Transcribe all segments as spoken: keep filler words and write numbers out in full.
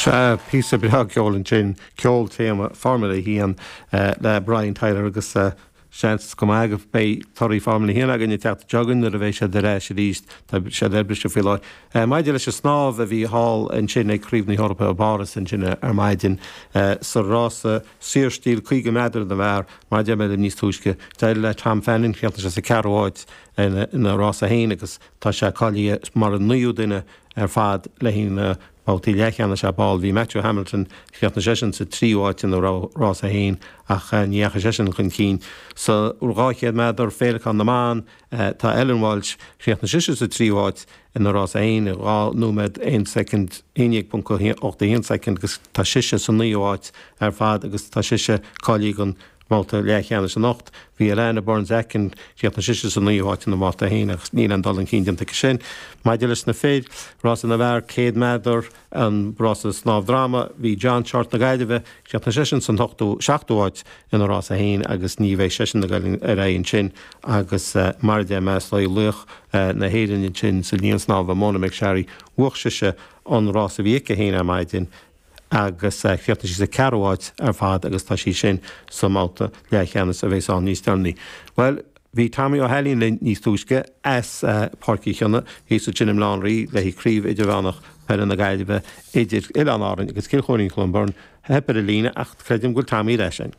Sea, píosa breá ceoil ansin, ceol téama Formula a haon le Brian Tyler agus seans go maith go mbeidh torthaí Formula a haon againn ag teacht chugainn nuair a bheidh siad ar ais arís, tá siad ar briseadh faoi láthair. Maidir leis an snámh a bhí thall ansin ag Craobh na hEorpa i bPáras ansin ar maidin sa rása saorstíl caoga méadar na bhfear, mar a deir mé libh níos túisce, d'éirigh le Tom Fanning, chríochnaigh sé sa ceathrú háit ina rás a haon agus tá sé cáilithe mar an naoú duine ar fad le haghaidh na babhtaí leathcheannais ab áil. Bhí Matthew Hamilton, chríochnaigh seisean sa tríú háit ina rás a haon ach ní dheachaigh seisean chun cinn. Sa dhá chéad méadar féileacán na mban, tá Ellen Walsh, chríochnaigh sise sa tríú háit ina rás a haon i dhá nóiméad aon soicind, aon déag ponc ocht a haon soicind agus tá sise sa naoú háit ar fad agus tá sise cáilithe don mbabhta leathcheannais anocht. Bhí Alana Burns Atkin, chríochnaigh sise sa naoú háit ina mbabhta a haon agus níl aon dul chun cinn déanta aici sin. Maidir leis na fir, rása na bhfear céad méadar, an rása snámh droma, bhí John Shortt na Gaillimhe, chríochnaigh seisean san ochtú, seachtú háit ina rás a haon agus ní bheidh seisean ag dul ar aghaidh ansin agus mar a deir mé, is í laoch na hÉireann ansin sa líon snámha, Mona McSharry, bhuaigh sise an rás a bhí aici féin ar maidin. agus chríochnaigh sí sa ceathrú háit ar fad agus tá sí sin sa mbabhta leathcheannais a bheas ann níos deireanaí. Bhuel, bhí Tommy Ó hAilín linn níos túisce as Páirc Uí Chionnaith thíos ansin i mBaile Átha an Rí le haghaidh Craobh Idirmheánach Peile na Gaillimhe idir Oileáin Árann agus Cill Chóirín Cluain Bheirn. Theip ar an líne ach creidim go bhfuil Tommy ar ais againn.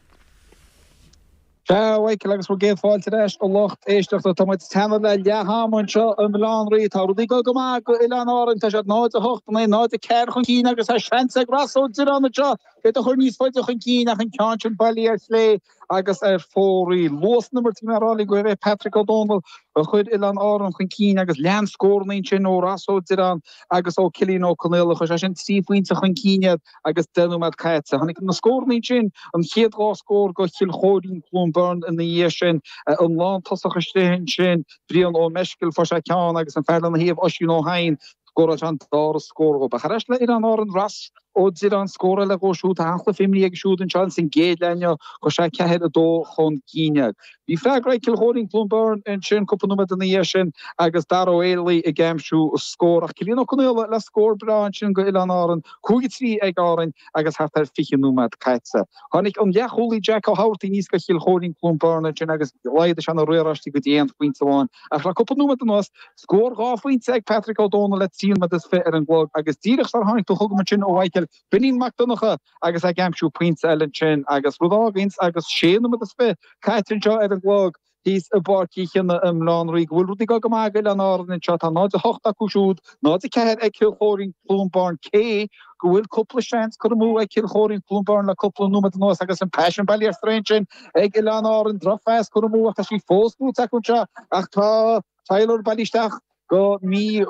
Sea, a Mhichael, agus bhur gcéad fáilte ar ais, a lucht éisteachta. Tá muid teannán le leath ama anseo i mBaile Átha an Rí. Tá rudaí ag dul go maith go Oileáin Árann. Tá siad náid a hocht in aghaidh náid a ceathair chun cinn agus tá seans ag Ross Ó Direáin anseo iad a chur níos faide chun cinn ach an ceann sin bailithe ar chlé agus ar fóraoil. Luas na n-imirt, bhí mé ag rá libh gurbh é Patrick Ó Dónaill a chuir Oileáin Árann chun cinn agus lean scóranna ansin ó Ross Ó Direáin agus ó Cillian Ó Conaola. Chuir sé sin trí phointe chun cinn iad agus deich nóiméad caite. Tháinig na scóranna ansin, an chéad dhá scór go Chill Chóirín, Cluain Bheirn ina dhiaidh sin, an lántosach istigh ansin, Brian Ó Meiscil, fuair sé ceann agus an fear lena thaobh, Oisín Ó hEidhin, scóráil sé an dara scór dhóibh. Ach ar ais le Oileáin Árann, Ross Ó Direáin, scór eile dhó siúd, tá an-chluiche imeartha aige siúd anseo ins an gcéad leath inniu, chuir sé ceathair a dó chun cinn iad. Bhí freagra ag Cill Chóirín, Cluain Bheirn ansin cúpla nóiméad ina dhiaidh sin agus Dara Ó Héalaí ag aimsiú scór ach Cillian Ó Conaola le scór breá ansin go Oileáin Árann, cúig a trí ag Árainn agus thart ar fiche nóiméad caite. Tháinig an leathchúlaí Jack Ó hEamhartaigh aníos go Chill Chóirín, Cluain Bheirn ansin agus laghdaigh sé na riaráistí go dtí aon phointe amháin ach le cúpla nóiméad anuas scór dhá phointe ag Patrick Ó Dónaill le trí nóiméad is fiche ar an gclog agus díreach sar tháinig tú chugam ansin a Mhichael, Beainín Mac Donncha agus ag aimsiú pointe eile ansin agus rud a fháganns agus sé nóiméad is fiche caite anseo ar an gclog thíos i bPáirc Uí Chionnaith i mBaile Átha an Rí go bhfuil rudaí ag dul go maith ag Oileáin Árann anseo. Tá náid a hocht acu siúd, náid a ceathair ag Cill Chóirín, Cluain Bheirn cé go bhfuil cúpla seans curtha amú ag Cill Chóirín, Cluain Bheirn le cúpla nóiméad anuas agus an pas sin bailithe ar strae ansin ag Oileáin Árann. Drochphas curtha amú ach tá sí fós buaite acu anseo ach tá Tyler bailithe isteach go mí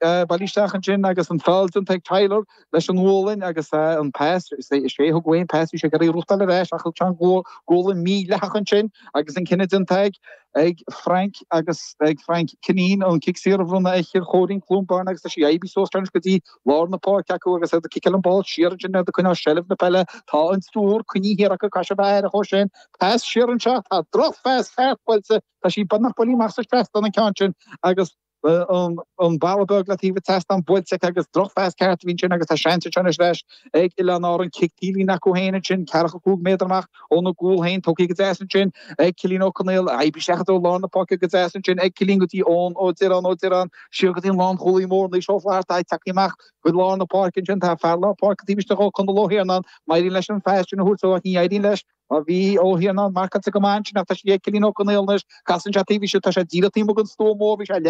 bailithe isteach ansin agus an foul déanta ag Tyler leis an ngualainn agus an pas, is é a thug uaidh an pas, bhí sé ag iarraidh rúchtáil ar ais ach thug sé an ghualainn mídhleathach ansin agus an cinneadh déanta ag ag Frank agus ag Frank Kineen an cic saor a bhronnadh ar Chill Chóirín, Cluain Bheirn agus tá sí oibrithe suas anois go dtí lár na páirce acu agus iad ag ciceáil an ball siar ansin iad ag coinneáil seilbh na peile. Tá an triúr coinnithe thiar acu, caithfidh siad a bheith aireach ó sin. Pas siar anseo, tá drochphas ceart buailte. Tá sí beagnach buailthe amach sa trasnán an ceann sin agus an balla beag le taobh an tseastáin buailte aici agus drochphas ceart a bhí ansin agus tá seans anseo anois leis ag Oileáin Árann cic taobhlíne acu féin ansin ceathracha cúig méadar amach óna gcúl féin tógtha go deas ansin ag Cillian Ó Conaola oibrithe isteach i dtreo lár na páirce go deas ansin ag Cillian go dtí Eoin Ó Direáin Ó Direáin siar go dtí an lánchúlaí mór Naoise Ó Flatharta tagtha amach go lár na páirce ansin tá fear lár páirce taobh istigh ó Conall Ó hIarnáin má éiríonn leis an phas sin a thabhairt ó ach ní éiríonn leis Má bhí Ó hIarnáin marcáilte go maith ansin ach tá sí ag Cillian Ó Conaola anois, casann sé taobh istigh, tá sé díreach taobh amuigh den stua mór, bhí sé